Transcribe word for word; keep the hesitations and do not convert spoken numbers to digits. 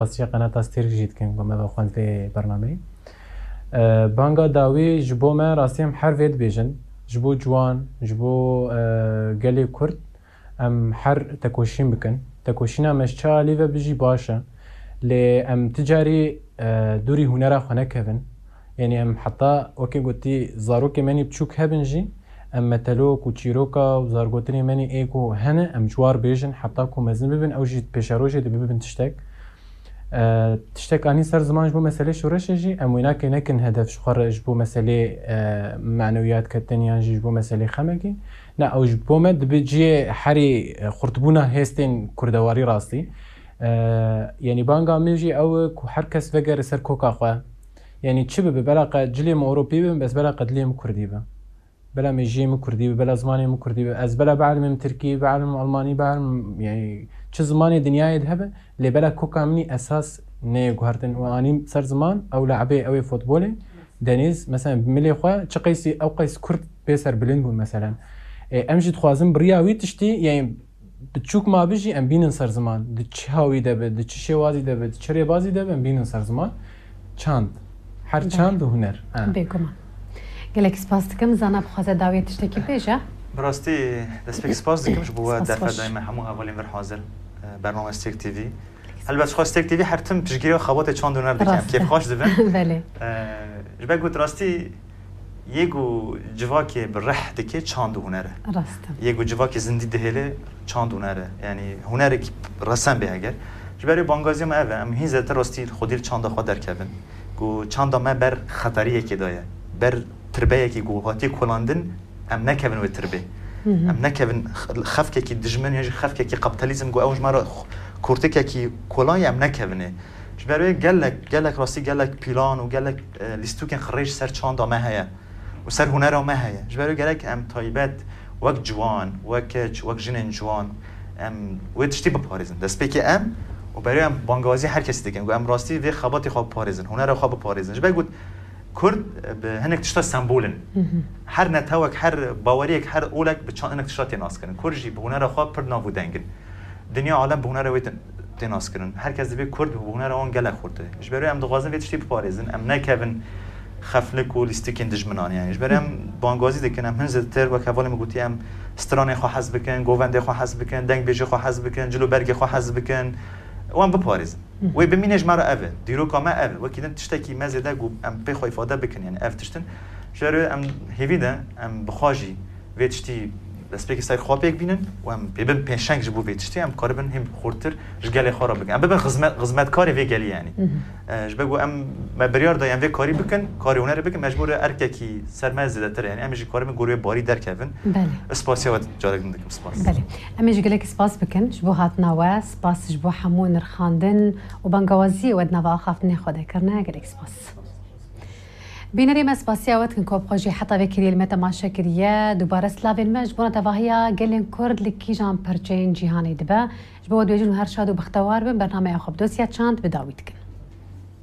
Spasiya Qenata Stêrk jî dikin ku me vexwend vê bernameyê. E, banga dawî ji bo me rastî em her vê dibêjin. Ji bo ciwan, ji bo, e, gelê Kurd em her tekoşîn bikin. Tekoşîna me ji çi alî ve bijî baş e. Lê em ti carî, e, dûrî hunera xwe nekevin. Yanî em heta wekî gotî zarokê me nî biçûk hebin jî, em metelok û çîroka û zargotinê me nî ê ku hene, em ji war bêjin, heta ku mezin bibin, ew jî pêşerojê dê bibin tiştek. E, tiştek anî ser ziman ji bo meselê şoreşê jî, em wê nake nekin hedef ji xwe re ji bo meselê, e, manewiyat ketin yan jî ji bo meselê xemekê. Ne, ew ji bo me dibe cihê herî, e, xurtbûna hêstên kurdewarî rastî. E, yanî banga min jî ew e ku her kes vegere ser koka xwe. Yanî çi bibe, bela qe cilê min Ewropî bibim, bes bela qe dilê min Kurdî be. Bela mêjiyê min Kurdî be, bela zimanê min Kurdî be. Ez bela bielmim Tirkî, bielmim Almanî, bielmim, yanî çi zimanê dinyayê de hebe, lê bela koka min î esas neyê guhertin. Û anî ser ziman, ew le'bê, ew ê futbolê, Denîz, mesela milê xwe, çi qeysî, ew qeys Kurd bê serbilind bûn, meselen. E, em jî dixwazin bi riya wî tiştî, yanî biçûk ma bijî, em bînin ser ziman. Di çi hawî de be, di çi şêwazî de be, di çi rêbazî de be, em bînin ser ziman. Çand. Her Belê. çand û huner. Ha. Bêguman. Gelek spas dikim. Zana bixwaze dawiyê tiştekî bêje. Bi rastî destpêkî spas dikim ji bo we Spas derfet xweş. dayî me hemû hevalên vir hazir, e, bername Stêrk T V. Helbet xwe Stêrk T V her tim piştgiriya xebatê çand û huner dike. Em Rast e. kêfxweş dibin. Belê. E, ji ber got rastî yê ku civakê bi rih dike çand û huner e. Rast e. Yê ku civakê zindî dihêle çand û huner e. Yanî hunerek resen bê heger. Ji ber wê bangaziya me ev e. Em hîn zêdetir rastî xwedî li çanda xwe derkevin. Ku çanda me ber xeteriyekê de ye. Ber tirbeyekî ku hatiye kolandin, em nekevin wê tirbê. Hı hı. Em nekevin x-, xefkekî dijmin ya jî xefkekî kapitalizm ku ew ji me re x-, kurtikekî kolan ye, em nekevinê. Ji ber wê gelek, gelek rastî, gelek pîlan û gelek, e, lîstûkên xirêj ser çanda me heye û ser hunera me heye. Ji ber wê gerek em taybet wek ciwan, wek keç, wek jinên ciwan em wê tiştî biparêzin. Destpêkê em û berê em bangawazî her kesî dikin ku em rastî vê xebatê xwe biparêzin, hunera xwe biparêzin. Ji ber got Kurd bi hinek tişta sembol in. Hı hı. Her netewek, her baweriyek, her olek bi çand hinek tişta tê naskirin. Kurd jî bi hunera xwe pir nav û deng in. Dinya alem bi hunera wê tê, tê naskirin. Her kes dibê Kurd bi hunera wan gelek xurt e. Ji ber wê em dixwazin vê tiştî biparêzin. Em nekevin xeflik û lîstikên dijminan, yanî. Ji ber em bangazî dikin, em hin zêdetir, wek hevalê min gotiye, em stranên xwe hez bikin, govendê xwe hez bikin, dengbêjê xwe hez bikin, cil û bergê xwe hez bikin. Wan biparêzin. Hı. Wê bimîne ji me re ev e. Dîroka me ev e. Wekî din tiştekî me zêde ku em pê xwe îfade bikin, yanî ev tişt in. Ji ber wê em hêvî de em bi xwe jî vê tiştî destpêkî ser xwe pêk bînin û em pê bin pêşeng ji bo vê tiştî, em karibin hîn xurtir ji gelê xwe re bikin. Em bibin xizmet-, xizmetkarê vê gelî, yanî. Hı hı. E, ji ber ku em, me biryar da em vê karî bikin, karê hunerê bikin, mecbûr e erkekî ser me zêdetir e. Yanî em jî karibin gor wê barî derkevin. Belê. Spasiya we carek din dikim. Spas. Belê. Em ê jî gelek spas bikin ji bo hatina we. Spas ji bo hemû nirxandin û bangawaziyê we di nava axaftinê xwe de kirine. Gelek spas. Bînerê me, spasiya we dikin ku bi xwe jî heta vê kiriyê li me temaşe kiriye. Dubare silavên me ji bona tevahiya gelên Kurd li kîjan perçeyên cîhanê dibe. Ji bo we dibêjin û her şad û bextewar bin. Bernameya xwe bi dosya çand bi dawî dikin.